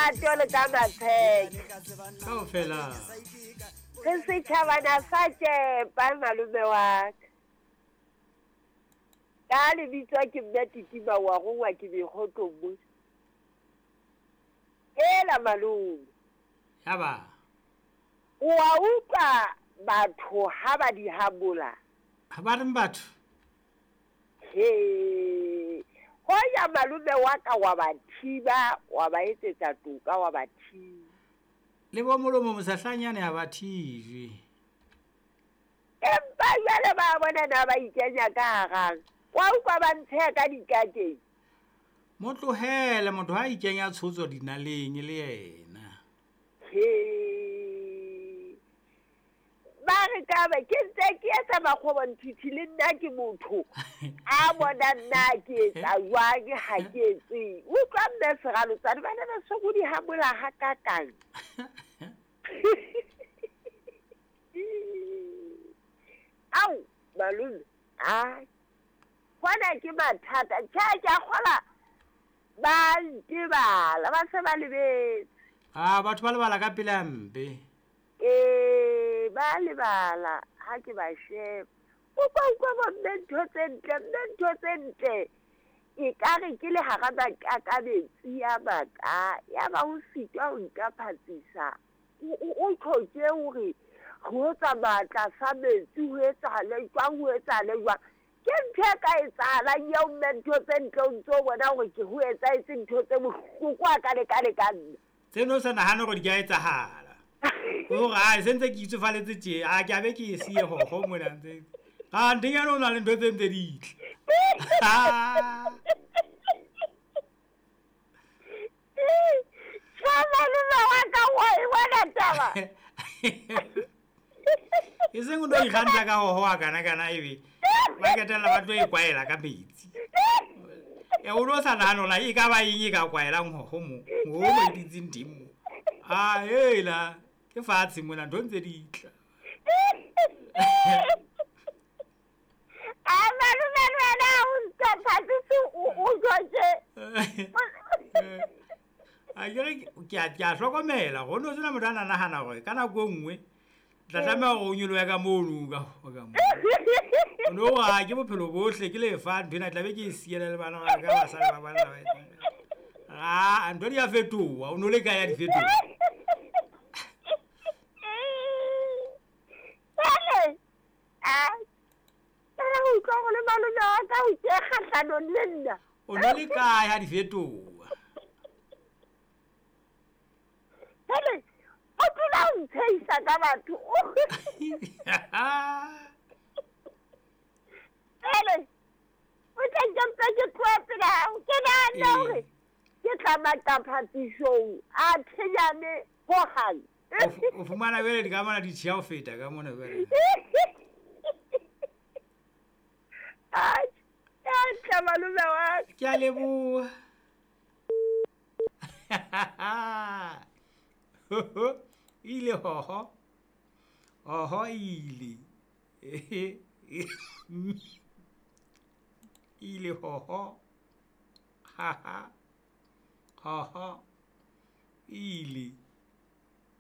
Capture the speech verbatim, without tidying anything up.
lerato le ka matsheke. Kaofela. Re setjhabana sa tšepa malome wa ka. Ka lebitso ke mme Titima wa rongwa ke mekgotlong mo. Ela malome. Ya ba. O a utlwa batho ha ba di habola. Ha ba reng batho? He. Hoya malome wa ka wa ba thiba, wa ba etsetsa toka wa ba thiba. Le bo molomo mosahlanyane ha ba thijwe. Empa jwale ba bona na ba ikenya ka harang. Wa utlwa ba ntsheha ka dikakeng. Mo tlohele motho ha ikenya tshotso dinaleng le yena. He. Ba re ka ba ke ntse ke etsa makgobonthithi le nna ke motho. A bona nna ke etsa jwang ha ke etse. Utlwa mme Seralotsane ba ne ba so di hamola hakakang. Au malome, a hona ke mathata. Tjhe, ke a kgola ba ntebala, ba se ba lebetse. Ah, batho ba lebala ka pele hampe. Eh, ba lebala ha ke ba sheba. Utlwa utlwa bo mme ntho tse ntle, mme ntho tse ntle. E ka re ke le hara makakabetsi ya maka, ya ba o sitwa ho nka phatsisa. O tlhoke hore ho tsamaya tlasa metsi ho etsahale jwang, ho etsahale jwang. Ke ntho e ka etsahalang eo mme ntho tse ntle o ntso bona hore ke ho etsahetse ntho tse bohloko a ka lekane ka nna. Tseno o sa nahane hore di ka etsahala. Hore ha se ntse ke itsofaletse tje, a ke a be ke e siye hoho mona ntse. Ha ntenyana o na le ntho tse ntse di tle. Tjhe, malome wa ka wa e bona taba. E seng o no ikgantsha ka hoho a kana kana ebe ba ketella ba tlo e kwaela ka metsi. E o no sa nahane hore e ka ba eng e ka kwaelang hoho mo. Mo mo e ditseng teng mo. Ah, hela ke fatshe mona ntho ntse di tla. A malome le wena o ntse phatsise o jotse. A ke re ke a ke a hlokomela go no sena motho a nahana hore ka nako e nngwe tla tlameha hore o nyolohe ka mono ka ka mo. O no ha ke bophelo bohle ke lefa ntho ena tla be ke e siela le bana ba ka ba sala ba bana ba. Ah, ntho di a fetoha, o no le kae ya di fetoha. Jwale, a ke utlwa hore le malome wa ka o ke kgahlanong le nna. O no le kae ha di fetoha? Jwale, o dula o ntshehisa ka batho. Jwale, o tla nkempa ke tloha pela hao. Ke nahana hore ke tla maqaphatsisong a thenyane hohang. O fumana jwale di ka mona di tjheha ho feta ka mona jwale. Ai, tla malome wa ka. Ke a leboha. Ile hoho. Hoho ile. Ile hoho. Ha ha. Hoho. Ile.